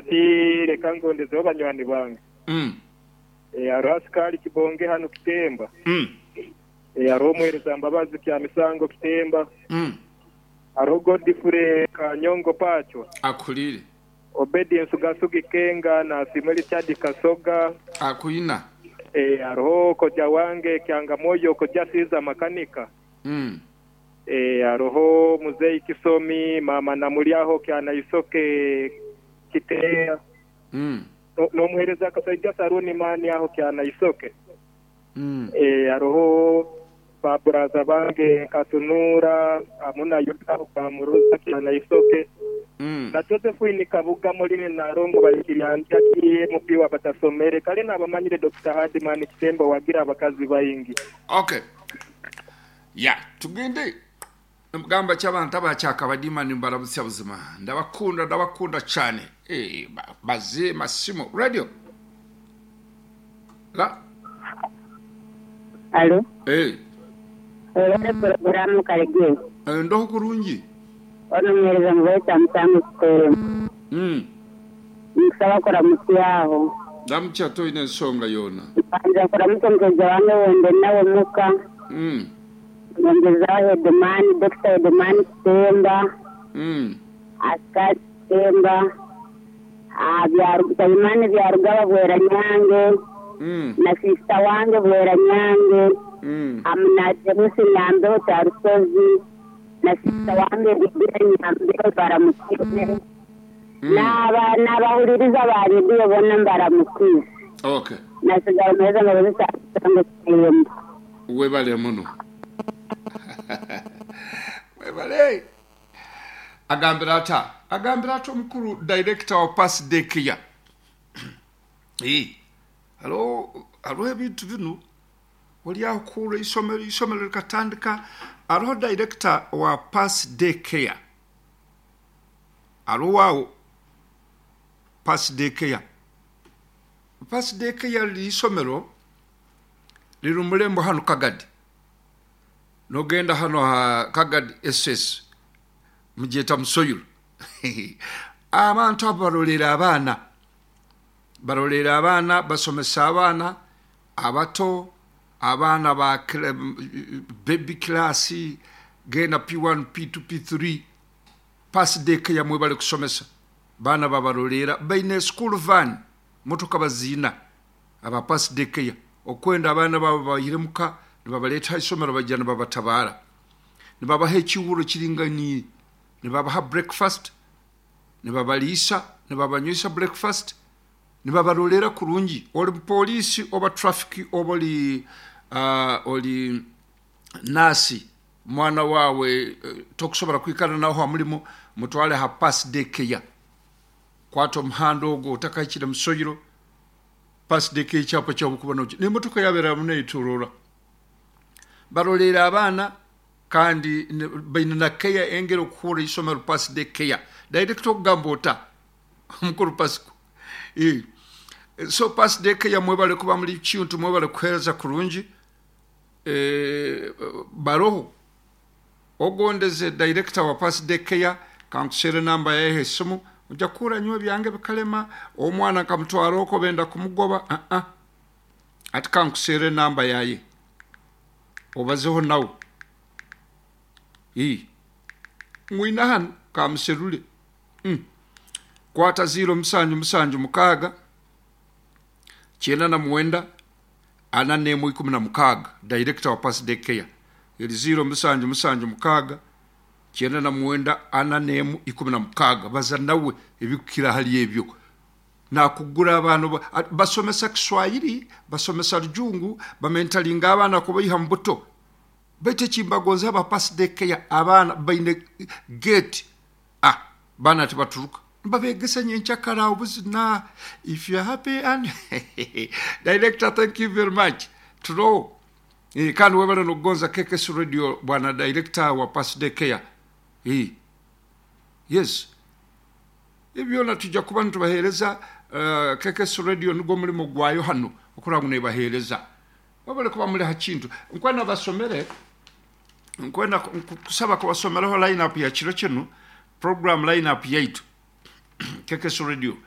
Hati leka ngondezeho banywani bange. Haroho Asikali Kibonge hanu Kitemba. Haroho Omuheereza Mbabazi Kyamisango Kitemba. Haroho Godfrey Kanyongo Pacwa. Akuhuriire. Obedi Nsugasugi Kenga na Asiimwe Richard Kasoga. Akwina. Haroho Koja wange Kyangamoyo Koja Caesar Makanika. Haroho Muzei Kisomi, Maama Namulyaho Kyanaisoke Kiteya. N'omuheereza Kasaija Saruni Mani aho Kyanaisoke. Haroho ba buraza bange Katunuura hamu na Yuda aho Kamuruza Kyanaisoke. Na Josephine Kabuga Mulini Nalongo Baikiryanjaki MP wa Batasomere. Kale nabamanyire Dokita Hardman Kitemba owagira abakazi baingi. Okay. Ya tugende Nimugamba ki abantu aba Kyakabadiima nimbarabutsya buzima ndabakunda ndabakunda cyane eh baze masimu radio la Alo. Eh. Webale pulogulaamu Karegeya. Eh, ndoho kurungi. Ono omuheereza mubaita Musango Kiteemba. Ninkusaba kuramutsyaho. Ndamukya toine ensonga yoona. Mbanza kuramukya omushaija wange ou ndi nawe muka. Nyongyezaho Headman, Dokita Headman Kitemba, Askari Kitemba, Saimani Byarugaba Bweranyange na siisita wange Bweranyange hamu na James Nyambeho Kyarusozi na siisita wange Libina Nyambeho mbaramukize n'abahuliriza ba rediyo boona mbaramukize. Okay. Nasigara muheereza Mbabazi Kyarusango Kitemba. Webale muno. Webale. Agambira ata? Agambira ata omukuru director wa Pass Day Care? Eh. Hariho hariho ebintu binu ori aho kuhurra eisomero eisomero rikatandika hariho director wa Pass Day Care. Hariho aho Pass Day Care. Pass Day Care riri eisomero riri omu rurembo hanu Kagadi. Nogenda hanu aha Kagadi SS mugyeta Musoyiro. Abantu abo baroreera abaana. Baroreera abaana, basomesa abaana abato, abaana ba baby class, genda P1, P2, P3. Pass Day Care mwebale kusomesa. Baana babaroreera. Baine school van, motoka baziina. Aba Pass Day Care okwenda abaana baabo babaihire muka nibabareeta aha ishomero baija nibabatabaara. Nibabaha ekihuuro kiringaniire, nibabaha breakfast, nibabariisa, nibabanywisa breakfast, nibabaroreera kurungi. Ori mupooriisi oba traffic oba ori ori naasi, omwana waawe tokusobora kwikara nawe aha murimo, mutware aha Pass Day Care. Kwata omuhanda ogwo otakahikire Musoyiro, Pass Day Care ekyapa kyabo kuba noki n'emotoka yaaba eraamu neetoroora. Baroreera abaana kandi baine na care engeri okuhuura eisomero Pass Day Care. Director okugamba ota? Omukuru Pasco. Eh. So Pass Day Care mwebale kuba muri kintu, mwebale kuheereza kurungi. Eh, baroho. Ogondeze director wa Pass Day Care kankuseere enamba yaye ha esimu oja kuhurra nyowe ebyange bikalema omwana nkamutwara okwo benda kumugoba aa hati kankuseere enamba yaye obazeho nawe ii mwine hanu kamuserure mm kwata ziiro musanju musanju mukaaga kyenda na mwenda ana n'emwe ikumi na mukaaga director wa Pass Day Care eri ziiro musanju musanju mukaaga kyenda na mwenda ana n'emu ikumi na mukaaga baza nawe ebikukira ahari ebyo nakugura abaana basomesa Kiswahili basomesa Rujungu bamentaringa abaana kubaiha mu buto baitu ekimbagonza aba Pass Day Care abaana baine gate ah baana tibaturuka Nibabeegesa nyenkyakara obuzina if you're happy and Director thank you very much Turoho eh, kandi webale nokugonza KKS Radio bwana Director wa Pass Day Care eh, yes ebyo byona tuja kuba nitubahereza uh, KKS Radio nigwo omurimo gwayo hanu okurora ngu nebahereza webale kuba muri ha kintu nkwenda basomere Nkwenda kusaba kubasomeraho line up ya kiro kinu, program line up yaitu, KKS Radio.